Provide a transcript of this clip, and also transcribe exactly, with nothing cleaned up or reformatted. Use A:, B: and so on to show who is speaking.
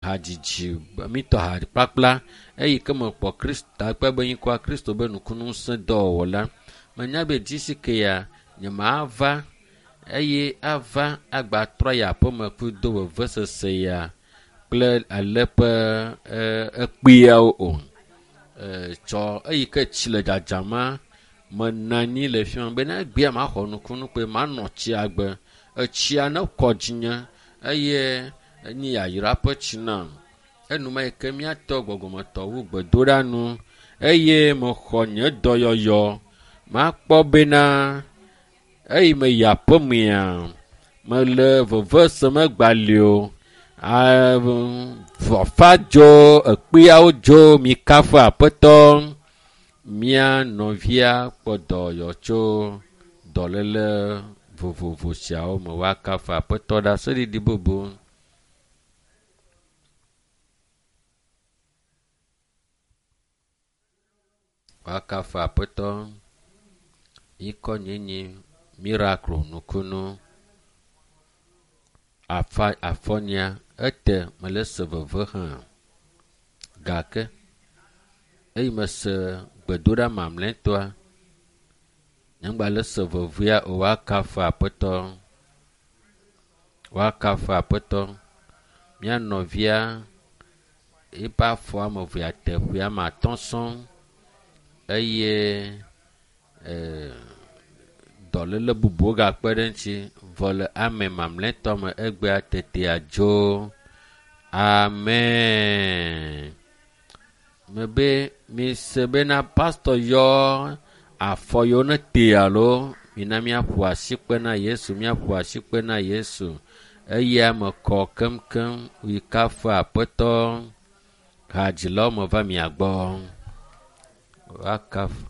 A: Hadzidzi mitɔ ha kplakpla eyi ke mekpɔ Kristo takpe be nyikɔa Kristo be nukunuŋusẽ dɔwɔwɔ la. Menya be dzisi ke ya nyemava eye ava agba trɔ yi aƒeme kudo vevesese ya kple ale ƒe ekpeawo o. Tsɔ eyi ke tsi le dzadzama menɔ anyi le fi ma bena egbea maxɔ nukunu kpe manɔ tsia gbe. Etsia ne kɔ dzinye eye enye yayra ƒe tsi nam. Enuma yi ke míatɔ gbɔgbɔmetɔ wu gbedoɖa nu eye mexɔ nye dɔyɔyɔ. Makpɔ bena eyi me yi aƒemea mele veve sem egbali o. Vɔfa dzo, ekpeawo dzo, mikafu aƒetɔ. Mía nɔvia kpɔ dɔyɔyɔ tso dɔléle vovovo siawo me. Woakafu aƒetɔ ɖaseɖiɖi bubu. Woakafu aƒetɔ. Ŋkɔ nye nye Miracle nukunu. Afa afɔnyia ete mele se veve hã gake eyi mese gbedoɖa mamlɛtɔa nyemgba le se vevea o. Woakafu aƒetɔ. Woakafu aƒetɔ. Mía nɔvia eƒe afɔ ame evea teƒe ame atɔ̃ sɔŋ eye dɔléle bubuwo gakpe ɖe eŋuti vɔ le ame mamlɛtɔ me egbea tetea dzo. Amen. Mebe mise bena pastor yɔ afɔ yiwo ne te alo mina míaƒo asikpe na Yesu, míaƒo asikpe na Yesu. Eya me kɔ keŋkeŋ yi kafu aƒetɔ. Hadzilawo me va mia gbɔ. Woakafu.